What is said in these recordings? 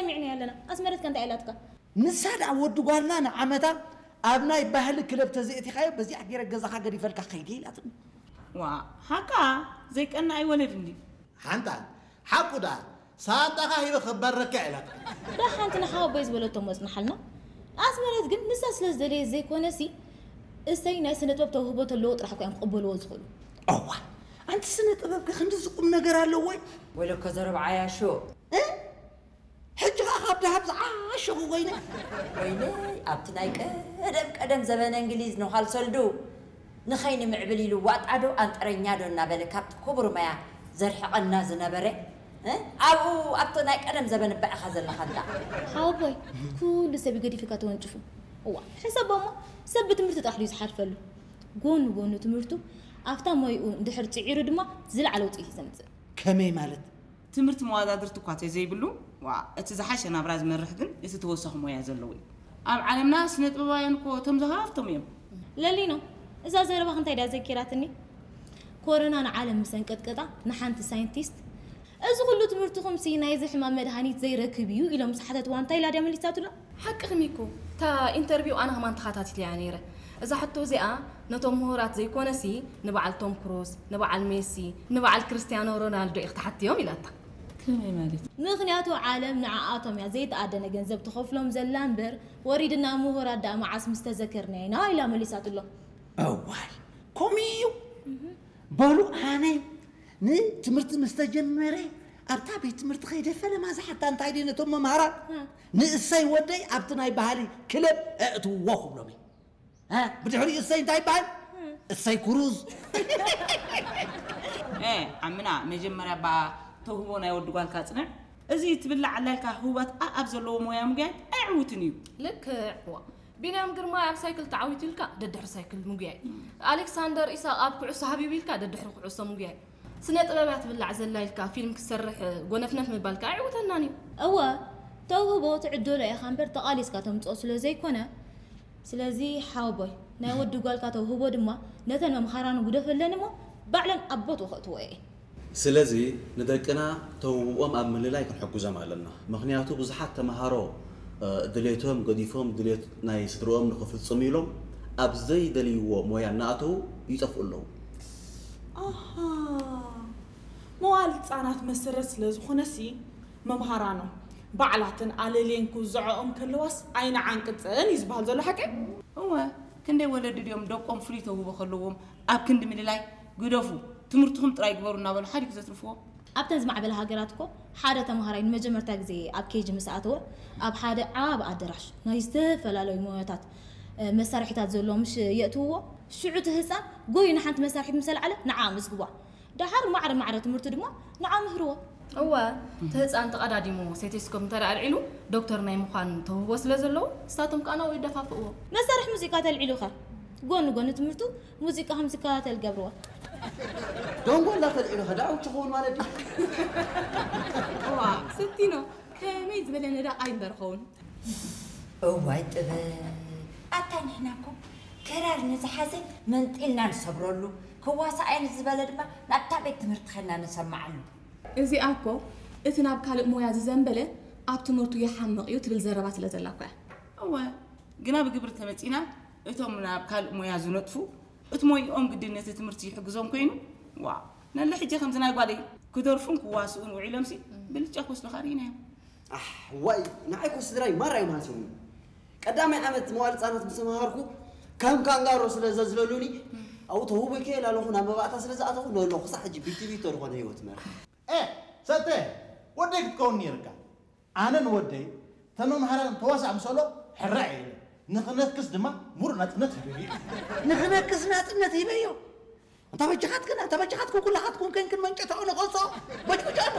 ሰሚዕና ኣለና። ኣስመረት ከ እንታይ ኢላትካ? ንሳ ደኣ ወዲ ጓልና ንዓመታ ኣብ ናይ ባህሊ ክለብ ተዘይእቲኻዮ በዚኣ ገይረ ገዛኻ ገዲፈልካ ከይደ ኢላትኒ። ዋ፣ ሓቃ ዘይቀና ኣይወለድ እንዲ። ሓንታ ሓቁ ደኣ ሳንጣኻ ሂበ ክባረካ ኢላትኒ። ደሓንቲ ንሓወቦይ ዝበለቶ መጽናሓልና። ኣስመረት ግን ንሳ ስለ ዝደለየት ዘይኮነሲ እሰይ ናይ ስነ ጥበብ ተውህቦ ተለዎ ጥራሕ እኮ እዮም ክቕበልዎ ዝኽእሉ። እዋ ኣንቲ ስነ ጥበብ ከ ክንድዚ ቁም ነገር ኣለዎ ወይ? ወይለኮ ዘረብዓ ያሾ። እ? ሕጂ ኸኣ ካብ ደሃብ ዝዓሸኹ ኮይነ። ወይለይ ኣብቲ ናይ ቀደም ቀደም ዘበነ እንግሊዝ ንዃል ሰልዱ ንኸይንምዕብል ኢሉ ዋጣዶ ኣንጠረኛዶ እናበለ ካብቲ ክቡር ማያ ዘርሕቐና ዝነበረ እ? ኣብኡ ኣብቲ ናይ ቀደም ዘበን እባ ኢኻ ዘለኻ እንዳ። ሓወቦይ ኩሉ ሰብ ገዲፍካ ተወንጭፉ። እዋ ሕሰቦ እሞ ሰብ ብትምህርቲ ጥራሕ ድዩ ዝሓልፈሉ? ጎኑ ጎኑ ትምህርቱ ኣብታ ሞይኡ እንድሕር ጽዒሩ ድማ ዝለዓለ ውፅኢት እዩ ዘምፅእ። ከመይ ማለት? ትምህርቲ መዋዳድርቲ እኳ ተዘይብሉ ዋ እቲ ዝሓሸ ናብራ ዝመርሕ ግን እቲ ተወሳኺ ሞያ ዘለዎ እዩ። ኣብ ዓለምና ስነ ጥበባውያን እኮ እቶም ዝሃፍቶም እዮም። ለሊኖ እዛ ዘረባኽ እንታይ ድያ ዘኪራትኒ? ኮሮና ንዓለም ምስ ኣንቀጥቀጣ ንሓንቲ ሳይንቲስት እዚ ኩሉ ትምህርትኹምሲ ናይዚ ሕማም መድሃኒት ዘይረክብ እዩ ኢሎም ምስ ሓተትዋ እንታይ ኢላ ድያ መሊሳትሎም? ሓቅኺ ሚኩ፣ እታ ኢንተርቪው ኣነ ከማን ተኸታቲለያ ነይረ። እዛ ሕቶ እዚኣ ነቶም ምሁራት ዘይኮነሲ ንበዓል ቶም ክሩዝ፣ ንበዓል ሜሲ፣ ንበዓል ክርስትያኖ ሮናልዶ ኢኺ ትሓትዮም ኢላታ። ከመይ ማለት? ምኽንያቱ ዓለም ንዓኣቶም እያ ዘይተኣደነ ገንዘብ ትኸፍሎም ዘላ እምበር ወሪድና ምሁራት ደኣ መዓስ ምስ ተዘከርናዮ ኢና ኢላ መሊሳትሎም። እዋይ ከምኡ እዩ። በሉ ኣነ ንትምህርቲ ምስ ተጀመረ ኣብታ ቤት ትምህርቲ ከይደ ፈለማ ዝሓታ እንታይ ድዩ ነቶም መምሃራን ንእሰይ ወደይ ኣብቲ ናይ ባህሊ ክለብ ኣእትውዎ ክብሎም እየ። እ፣ ብድሕሪኡ እሰይ እንታይ ይበሃል? እሰይ ኩሩዝ። እ፣ ዓምና መጀመርያ እባ ተውህቦ ናይ ወዲ ጓልካ ጽንዕ። እዚ ትብላዕ ኣላ ኢልካ ህቡባት ኣኣብ ዘለዎ ሞያ ምጉያይ ኣይዕውትን እዩ። ልክዕ። ዋ፣ ቢንያም ግርማይ ኣብ ሳይክል ተዓዊቱ ኢልካ ደድሕሪ ሳይክል ምጉያይ። ኣሌክሳንደር ኢሳቕ ኣብ ኩዕሶ ሃቢቡ ኢልካ ደድሕሪ ኩዕሶ ምጉያይ። ስነ ጥበብ እያ ትብላዕ ዘላ ኢልካ ፊልም ክትሰርሕ ጎነፍነፍ ምባል ከኣ ኣይዕውተናን እዩ። እወ፣ ተውህቦ ትዕደሎ ኢኻ እምበር ተቓሊስካ ተምጽኦ ስለ ዘይኮነ። ስለዚ ሓወቦይ፣ ናይ ወዲ ጓልካ ተውህቦ ድማ ነተን መምሃራኑ ግደፈለን እሞ ባዕለን ኣብ ቦትኡ ከእትዎ እየን። ስለዚ ንደቅና ተውህቦኦም ኣብ ምልላይ ክንሕግዞም ኣለና። ምኽንያቱ ብዙሓት ተምሃሮ፣ እ፣ ድሌቶም ገዲፎም ድሌት ናይ ስድርኦም ንኽፍጽሙ ኢሎም ኣብ ዘይደልይዎ ሞያ እናኣተዉ ይጠፍኡ ኣለዉ። ኣሃ፣ መዋል ህጻናት መሰረት ስለ ዝኾነሲ መምሃራኖም ባዕላተን ኣለልየን ክውዝዐኦም ከለዋስ ኣይንዓንቅጸን እዩ ዝበሃል ዘሎ ሓቂ? እወ፣ ክንደይ ወለዲ ድዮም ደቆም ፍሉይ ተውህቦ ከለዎም ኣብ ክንዲ ምልላይ ግደፉ፣ ትምህርትኹም ጥራይ ግበሩ እናበሉ ሓዲግ ዘትርፍዎ? ኣብተን ዝማዕበላ ሃገራት እኮ ሓደ ተምሃራይ ንመጀመርታ ግዜ ኣብ ኬጂ ምስ ኣተወ ኣብ ሓደ ዓቢ ኣደራሽ ናይ ዝተፈላለዩ ሞያታት፣ እ፣ መሳርሒታት ዘለዎ ምሽ የእትውዎ። ሽዑ እቲ ህጻን ጎዩ ንሓንቲ መሳርሒት ምስ ኣልዓለ ንዓ ኣመስግቧ። ደሓር ማዕረ ማዕረ ትምህርቱ ድማ ንዓ ምህርዎ። እወ፣ እቲ ህጻን ተቐዳዲሙ ሴቴስኮፕ እንተ ደኣ ኣልዒሉ ዶክተር ናይ ምዃን ተውህቦ ስለ ዘለዎ ንሳቶም ከኣ ናብኡ ይደፋፍእዎ። መሳርሒ ሙዚቃ ተልዒሉ ኸ ጎኒ ጎኒ ትምህርቱ ሙዚቃ ከም ዝከታተል ገብርዎ። ደንጎላ ተልዒሉ ኸ ደኣ ውጭ ክኸውን ማለት ድዩ? እዋ፣ ስቲኖ ከመይ ዝበለ ነዳቕ ኣይምበር ኸውን። እዋይ ጥበብ! ኣታ ንሕና እኮ ክራር ንዝሓዘ መንጢልና ንሰብረሉ፣ ክዋሳእ እየ ንዝበለ ድማ ናብታ ቤት ትምህርቲ ኸድና ነሰምዓሉ። እዚኣ እኮ እቲ ናብ ካልእ ሞያ ዝዘንበለ ኣብ ትምህርቱ ይሓምቕ እዩ ትብል ዘረባ ስለ ዘላ እኮ እያ። እወ፣ ግና ብግብሪ ተመጺና እቶም ናብ ካልእ ሞያ ዝነጥፉ እቲ ሞይኦም ግድን ነቲ ትምህርቲ ይሕግዞም ኮይኑ፣ ዋ፣ ነለ ሕጂ ከምዚ ናይ ጓለይ ክደርፉን ክዋስኡን ውዒሎምሲ ብልጫ ክወስዱኻ ርኢናዮም። ኣሕ፣ ዋይ፣ ንዓይ እኮ ስድራይ ማራ እዮም ሃስዮምኒ። ቀዳማይ ዓመት መዋል ህጻናት ምስ ተመሃርኩ ከም ካንጋሮ ስለ ዘዝለሉኒ ኣብኡ ተውህቦ ይከየል ኣለኹ ናብ መባእታ ስለ ዝኣተኹ ለለኹ ክሳዕ ሕጂ ቢትቢቶ ዝኾነ ህይወት መርሕ። ኤ፣ ሰተ፣ ወደይ ክትከውን ነይርካ። ኣነ ንወደይ ተመምሃራን ተዋሳእ ምሰሎ ሕራይ እየ ኢለ። ንኽነክስ ድማ ሙሉእ ናጽነት ሂበዮ። ንኽነክስ ናጽነት ሂበዮ? ኣንታ በጃኻትክን፣ ኣንታ በጃኻትክን ኩላኻትኩም ከንክን መንጨታኡ ንኸሶ በጭብጭ ኣሎ።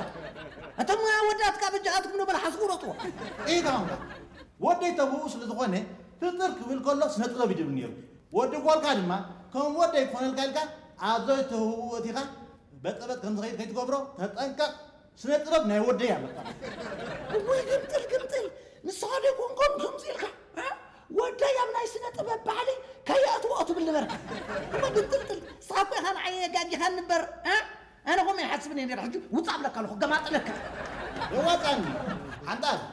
ኣንታ ሞያ ወዳትካ በጃኻትኩም ንበል ሓስቡ ሮጥዎ። ኢኻ እምባ። ወደይ ተብኡ ስለ ዝኾነ ፍጥር ክብል ከሎ ስነ ጥበብ ይድብል ነይሩ። ወዲ ጓልካ ድማ ከም ወደይ ክኾነልካ ኢልካ ኣብ ዘይተህብኡ እቲኻ በጠበጥ ከም ዝኸይድ ከይትገብሮ ተጠንቀቕ። ስነ ጥበብ ናይ ወደይ ኣለካ። እወይ ግምጥል ግምጥል፣ ንስኻ ዶ ኮንኮም ከምዚ ኢልካ? እ? ወደይ ኣብ ናይ ስነ ጥበብ ባህሊ ከየእትዎ ትብል ነበርካ። እሞ ግምጥልጥል፣ ንስኻ እኮ ኢኻ ንዓይ የጋጊኻኒ እምበር፣ እ? ኣነ ከምኡ ይሓስብ ነይረ፣ ሕጂ ውጻእ እብለካ ኣለኹ፣ ገማጥለካ። የዋጻኒ።